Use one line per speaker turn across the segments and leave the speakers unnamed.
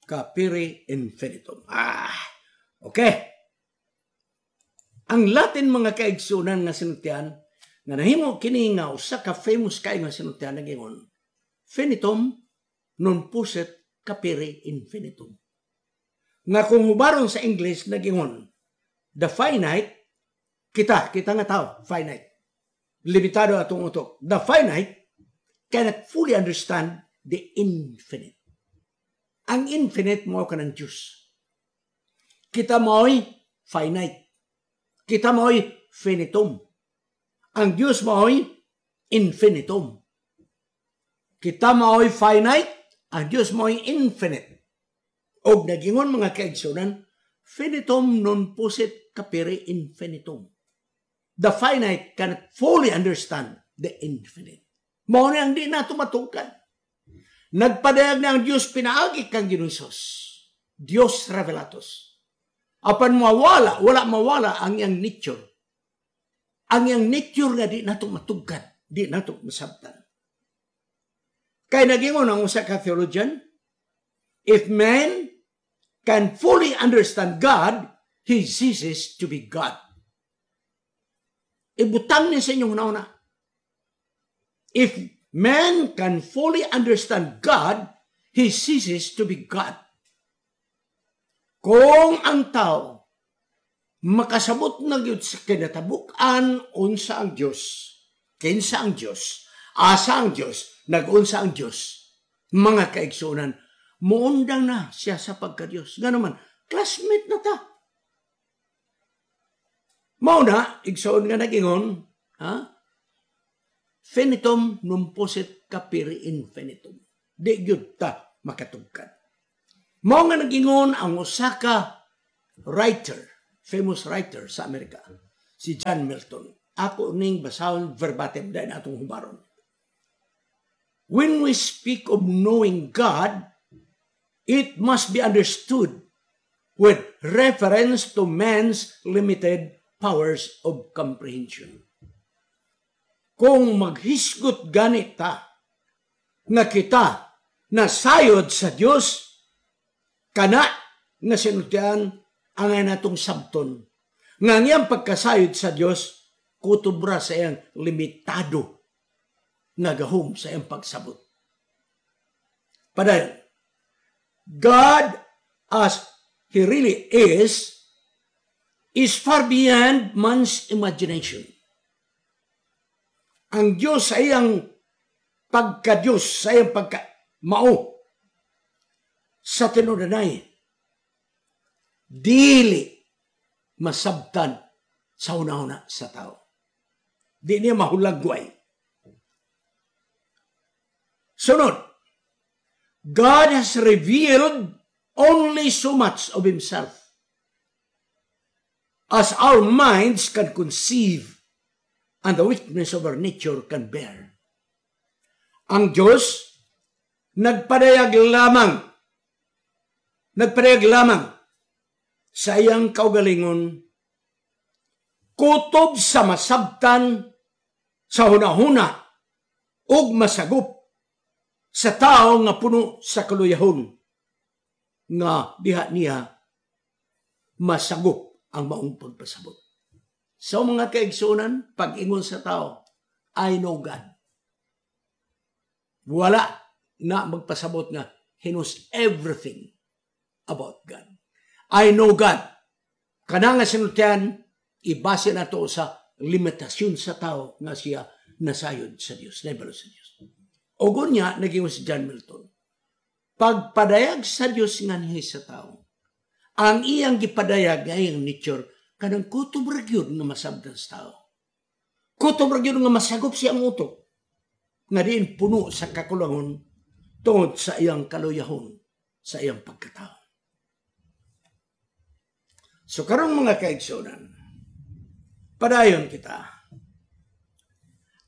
Capire infinitum. Ah, okay. Ang Latin, mga kaigsunan, nga sinultian, nga nahimo kini nga usa ka famous kay nga sinultian, nagingon, "Finitum non possit capire infinitum." Nga kung hubaron sa English, nagingon, the finite, kita nga tao, finite. Limitado atong utok. The finite cannot fully understand the infinite. Ang infinite mao kanang Diyos. Kita mo'y finite. Kita mo'y finitum. Ang Diyos mo'y infinitum. Kita mo'y finite, ang Diyos mo'y infinite. Og nagingon, mga kaigsunan, "Finitum non possit capire infinitum." The finite cannot fully understand the infinite. Mao ni ang di nato matugkad. Nagpadayag na ang Diyos pinaagi kang Ginoong Hesus. Dios revelatus. Apan mawala, wala mawala ang iyang nature. Ang iyang nature nga di nato matugkad, di nato masabtan. Kay nagingon ang usa ka theologian, "If man can fully understand God, he ceases to be God." Ibutang ni sa inyong huna. If man can fully understand God, he ceases to be God. Kung ang tao makasabot na gyud sa kinatabuk-an unsa ang Dios, kinsa ang Dios, asa ang Dios, nag-unsa ang Dios, mga kaigsunan, muundang na siya sa pagka-Dios. Ngano man, classmate na ta. Mao na, igsoon nga nagingon, ha? "Finitum non possit capire infinitum." Di gyud ta makatugkad. Mao nga nagingon ang usa ka writer, famous writer sa Amerika, si John Milton. Ako ning basahon verbatim dahil atong hubaron. "When we speak of knowing God, it must be understood with reference to man's limited powers of comprehension." Kung maghisgot ganit ta nga kita nasayod sa Dios, kana nga sinultian ang natong sabton nga ang iyang pagkasayod sa Dios kutob ra sa iyang limitado nga gahom sa iyang pagsabot. Padayon, "God as He really is far beyond man's imagination." Ang Diyos sa iyang pagka-Diyos, sa iyang pagka mao sa tinudanay, dili masabtan sa una-una sa tao. Di niya mahulagway. Sunod, "God has revealed only so much of Himself as our minds can conceive and the weakness of our nature can bear." Ang Diyos nagpadayag lamang sa iyang kaugalingon kutob sa masabtan sa hunahuna ug masagop sa tao nga puno sa kaluyahon nga diha niya masagop ang maong pagpasabot. So mga kaigsunan, pag-ingon sa tao, "I know God," wala na magpasabot nga he knows everything about God. "I know God." Kana nga sinultian, ibase na to sa limitasyon sa tao nga siya nasayod sa Dios, naibalo sa Dios. O gunya, naging si John Milton. Pagpadayag sa Dios nganhi sa tao, ang iyang gipadayag nga iyang nature, kanang kutob ra gyud nga masabtan sa tao. Kutob ra gyud nga masagop siyang utok. Nga diin puno sa kakulangon tungod sa iyang kaluyahon sa iyang pagkatao. So karong, mga kaigsunan, padayon kita.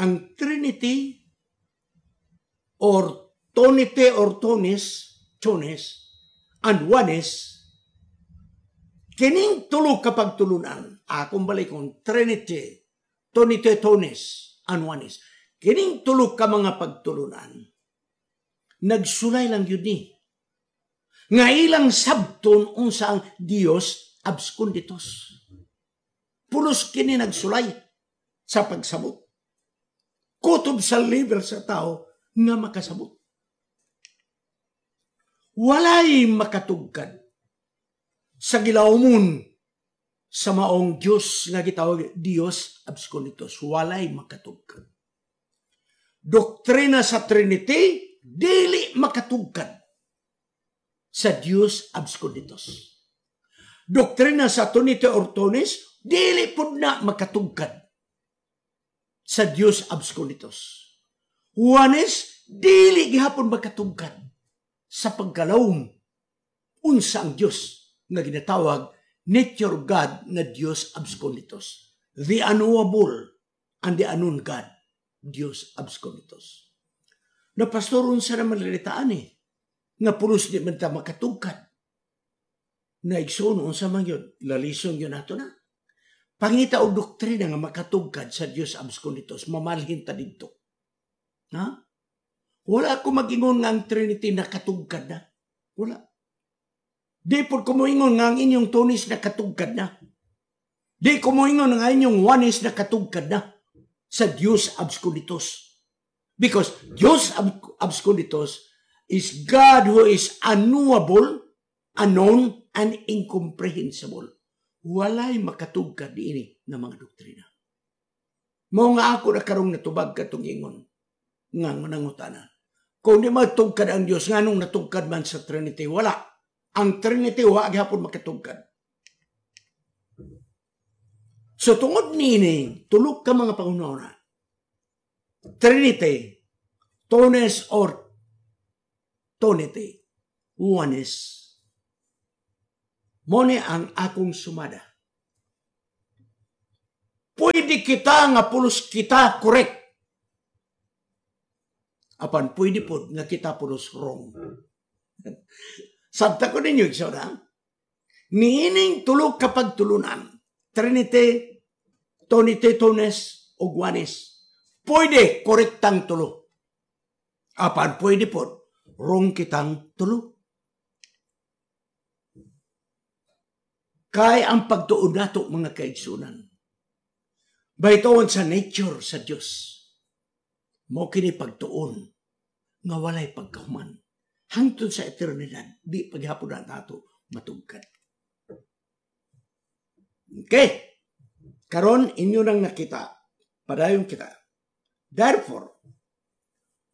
Ang Trinity or Tonite or Tonis, Tonis, and Oneness, kining tulo ka pagtulunan, akong balikon, Trinity, Tonite, Tonis, and Oneness. Kining tulo ka mga pagtulunan, nagsulay lang yun ni. Nga ilang sabton unsa ang Dios absconditus. Pulos kini nagsulay sa pagsabot. Kutob sa level sa tao nga makasabot. Walay makatugkad sa gilawmon sa maong Diyos nga gitawag Dios absconditus. Walay makatugkad. Doktrina sa Trinity dili makatugkad sa Dios absconditus. Doktrina sa Trinity or Tonis dili pud na makatugkad sa Dios absconditus. Oneness dili gihapon makatugkad sa pagkalawom unsa ang Dios nga ginatawag nature of God na Dios absconditus. The unknowable and the unknown God, Dios absconditus. Na pastor, unsa naman lilitaan eh, nga pulos di man ta makatugkad. Na igsoon, unsa man yun, lalison yun nato na. Pangita og doktrina nga makatugkad sa Dios absconditus, mamalhin ta didto. Ha? Wala ko mag-ingon nga ang Trinity nakatugkad na. Wala. Di po ko moingon nga ang inyong Twoness nakatugkad na. Di ko moingon nga ang inyong Oneness nakatugkad na sa Dios absconditus. Because Dios absconditus is God who is unknowable, unknown, and incomprehensible. Walay makatugkad diini nga mga doktrina. Mao nga ako na karong natubag katong ingon nga nangutana. Kung di matugkad ang Dios, nganong natugkad man sa Trinity? Wala. Ang Trinity wa gihapon makatugkad. So tungod niini, tulok ka mga pangunahuna. Trinity, Twoness or Tonity, Oneness. Mao ni ang akong sumada. Pwede kita nga pulos kita correct. Apan pwede po nga kita pulos wrong. Sabta ko ninyo, igsoon ha? Niining tulok kapag tulunan, Trinity, Tonity, Twoness, o Oneness. Pwede korektang tulo. Apan pwede po, wrong kitang tulo. Kay ang pagtuon nato mga kaigsunan, baytoon sa nature sa Dios. Mao kini pagtuon nga walay pagkahuman. Hangtod sa eternidad, di paghapon na nato matugkad. Okay. Karon inyo nang nakita, padayon kita. Therefore,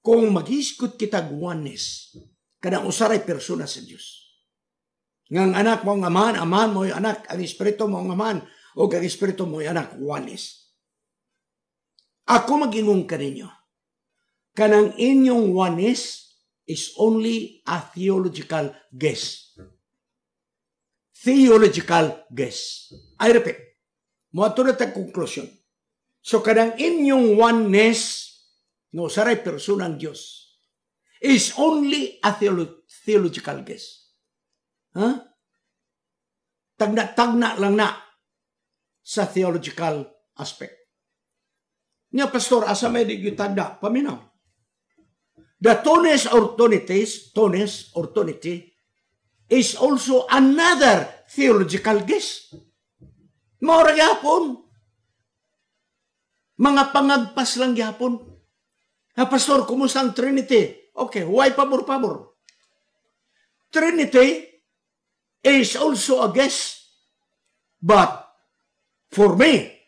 kung maghisgot kita oneness, kanang usaray persona sa Dios. Nga ang anak mo ang amahan, amahan mo yung anak, ang espiritu mo ang amahan, o ang espiritu mo yung anak, oneness. Ako mag-ingon kaninyo, kanang inyong oneness is only a theological guess. Theological guess. I repeat, moadto na tag conclusion. So kanang inyong oneness, no saray persona ang Dios, is only a theological guess. Huh? Tagna-tagna lang na sa theological aspect. Nga pastor, asa may di tagna? Paminaw. The Twoness or Tonities, Twoness or Tonity, is also another theological guess. Mao ra gyapon. Mga pangagpas lang gyapon. Ha, pastor, kumusta ang Trinity? Okay, why pabor-pabor? Trinity is also a guess. But for me,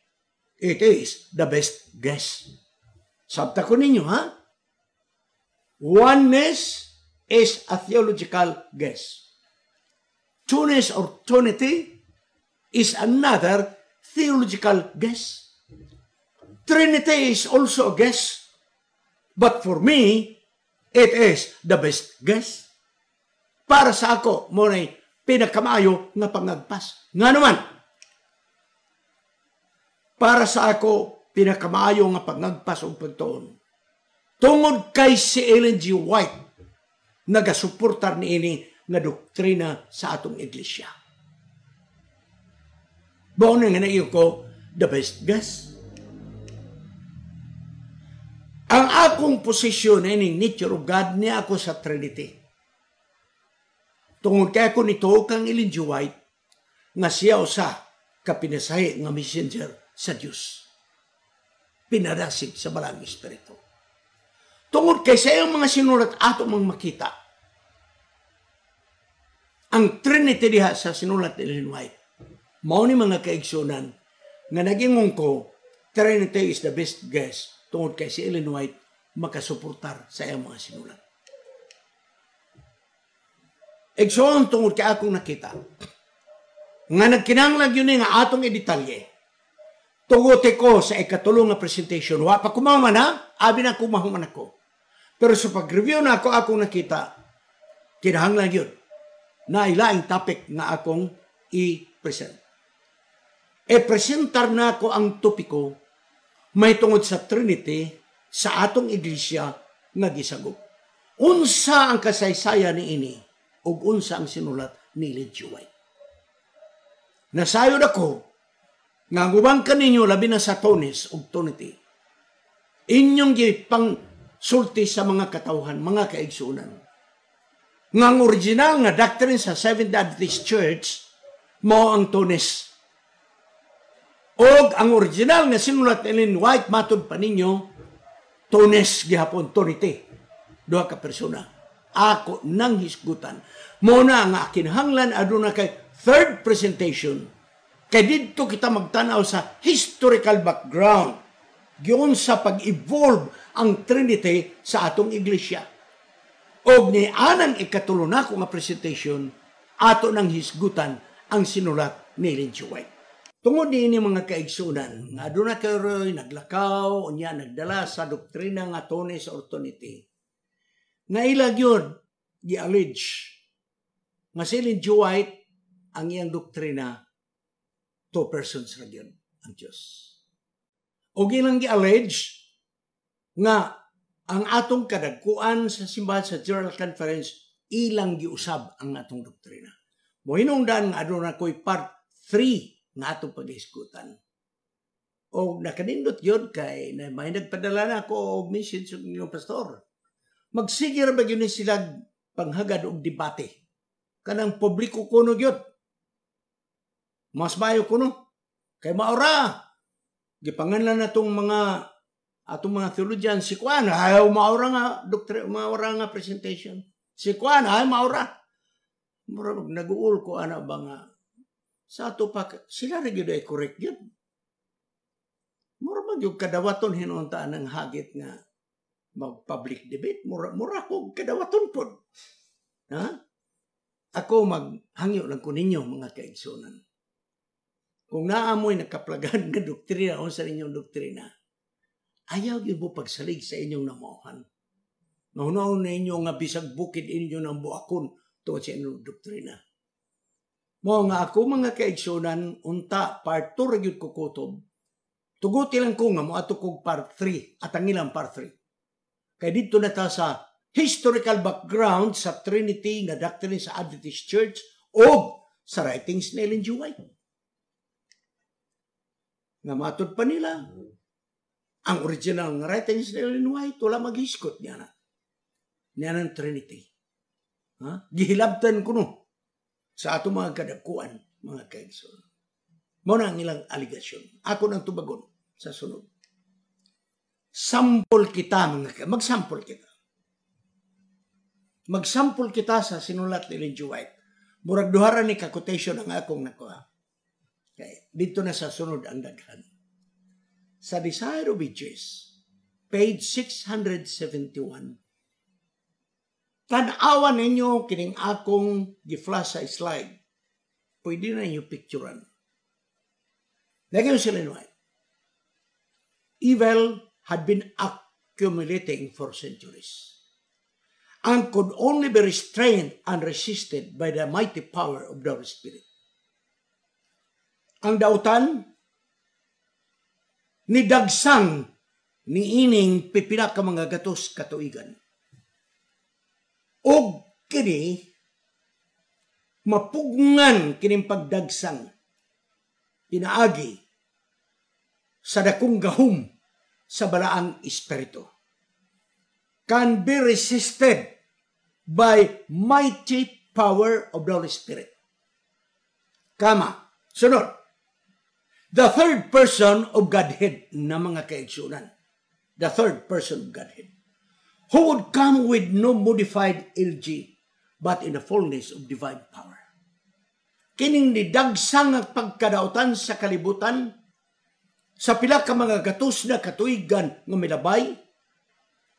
it is the best guess. Sabta ko ninyo, ha? Oneness is a theological guess. Twoness or Tonity is another theological guess. Trinity is also a guess. But for me, it is the best guess. Para sa ako, mo na pinakamaayo nga pangagpas. Nga naman, para sa ako, pinakamaayo nga pangagpas o pagtuon. Tungod kay si Ellen G. White, nagasuportar niini nga doktrina sa atong iglesia. Mao na nga naiyo ko, the best guess. Ang akong posisyon ining nature of God niya ako sa Trinity. Tungod kay ako nituo kang Ellen G. White nga siya usa ka pinasahi nga messenger sa Dios. Pinadasig sa Balaang Espiritu. Tungod kay sa iyang mga sinulat ato mang makita ang Trinity diha sa sinulat ni Ellen White. Mao ni, mga kaigsunan, nga nagingon ko Trinity is the best guess tungod kay si Ellen White makasuportar sa iyang mga sinulat. Igsoon, tungod kay akong nakita nga nagkinahanglan yun nga atong i-detalye. Tuguti ko sa ikatulo nga presentation. Wa pa kumaman ha, abi na kumahuman ako. Pero sa pag-review na ako, akong nakita, kinahanglan yun na ilaing topic nga akong i-present. E-presentar na ako ang topiko may tungod sa Trinity sa atong iglesia nga gisagop. Unsa ang kasaysayan ni ini ug unsa ang sinulat ni Ellen G. White. Nasayod ako nga ang uban kaninyo, labi na sa Twoness ug Twonity, inyong gipang sulti sa mga katawhan, mga kaigsunan, nga ang original nga doctrine sa Seventh Adventist Church mao ang Twoness. Og ang original nga sinulat ni Ellen White, matud pa ninyo, Twoness gihapon, Twonity. Duha ka persona. Ako nang hisgutan. Mao na nga kinahanglan aduna kay third presentation. Kay didto kita magtanaw sa historical background giun sa pag-evolve ang Trinity sa atong iglesia. Og ni anang ikatulo nako nga presentation, ato nang hisgutan ang sinulat ni Ellen G. White. Tungod niini, mga kaigsunan, nga aduna kayo'y naglakaw, unya nagdala sa doktrina nga Twoness or Twonity, nga ila gyud gi-allege nga si Ellen G. White, ang iyang doktrina, two persons ra gyud ang Dios. Og ilang gi-allege nga ang atong kadagkuan sa simbahan sa General Conference, ilang giusab ang atong doktrina. Mohinungdan nga aduna ko'y part 3 nga atong pag-iskutan. O nakanindot yun kay na may nagpadala na ako og message sa inyong pastor. Magsige ra ba gyud ni sila panghagad og debate? Kanang publiko kuno gyud. Mas mayo kuno. Kay maora. Gipanganlan na tong mga atong mga theologian, si Kuan ayaw, maora nga doktrina, maora nga presentation. Si Kuan ay maora. Mura nag-uul ko ana ba nga sa ato pa sila ra gyud ay correct gyud. Mura man gyud kadawaton hinuntaan ng hagit nga mag public debate, mura mura ko kadawaton pod. Ha? Ako, maghangyo lang ko ninyo, mga kaigsunan. Kung naamoy nakaplagan nga doktrina o sa inyong doktrina, ayaw gyud mo pagsalig sa inyong namuhan. Mahunaon na inyo nga bisag bukid inyo ng buakon tungod sa inyong doktrina. Mo nga ako, mga kaigsunan, unta part 2 ra gyud ko kutob. Tuguti lang ko nga moadto kog part 3 at ang ilang part 3. Kay didto na ta sa historical background sa Trinity nga doctrine sa Adventist Church o sa writings ni Ellen G. White. Nga matod pa nila, ang original nga writings ni Ellen White wala maghiskot niya na. Niya ng Trinity. Ha? Gihilabtan ko no sa ato mga kadagkuan, mga kaigsoon. Mao na ang ilang aligasyon. Ako nang tubagon sa sunod. Sample kita, mga magsample kita. Magsample kita sa sinulat ni Ellen G. White. Murag duha ra ni ka quotation ang akong nakuha. Okay. Dito na sa sunod ang daghan. Sa Desire of Ages, page 671, tan-awan ninyo kining akong gi-flash sa slide. Pwede na ninyo picturean. Lagi sila White. "Evil had been accumulating for centuries and could only be restrained and resisted by the mighty power of the Holy Spirit." Ang dautan ni dagsang ni ining pipila ka mga gatos katuigan. Og kini mapugngan kining pagdagsang pinaagi sa dakong gahom sa Balaang Espiritu. Can be resisted by mighty power of the Holy Spirit. Kama. Sunod. The third person of Godhead na, mga kaigsunan. The third person of Godhead, who would come with no modified LG, but in the fullness of divine power. Kining nidagsang nga pagkadautan sa kalibutan sa pila ka mga gatos na katuigan nga milabay,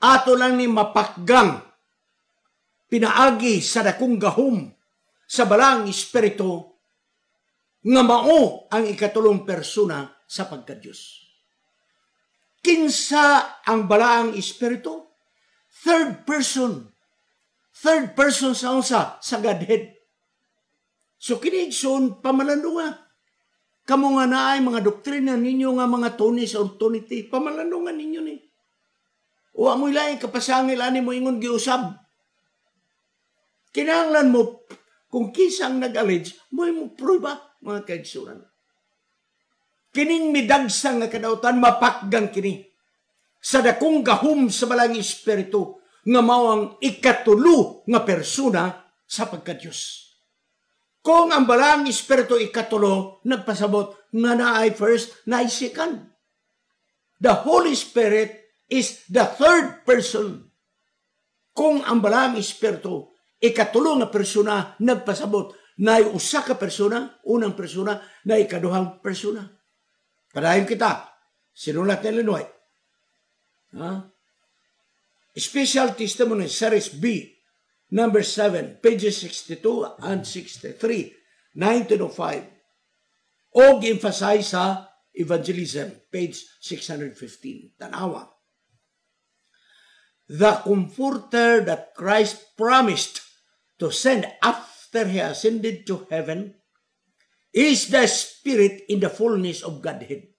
ato lang ni mapakgang pinaagi sa dakong gahom sa Balaang Espiritu nga mao ang ikatulong persona sa pagka-Diyos. Kinsa ang Balaang Espiritu? Third person. Third person sa unsa? Sa Godhead. So kini, igsoon, pamalandunga. Kamo nga naay mga doktrina ninyo nga mga Tonis or Tonity, pamalandungan ninyo ni. Wa mo laing kapasangil ani mo ingon giusab. Kinahanglan mo kung kinsang nag-allege, mo prueba, mga kaigsunan. Kining midagsa nga kadautan, mapakgang kini sa dakong gahom sa Balaang Espiritu nga mao ang ikatulo nga persona sa pagka-Diyos. Kung ang Balaang Espiritu ikatulo, nagpasabot nga naay first, naay second. The Holy Spirit is the third person. Kung ang Balaang Espiritu ikatulo nga persona, nagpasabot naay usa ka persona, unang persona, na ikaduhang persona. Padayon kita. Sinulat ni Ellen White. Ha? Special Testimony, Series B, number 7, pages 62 and 63, 1905. Og emphasize sa Evangelism, page 615. Tanawa. The Comforter that Christ promised to send after He ascended to heaven is the Spirit in the fullness of Godhead.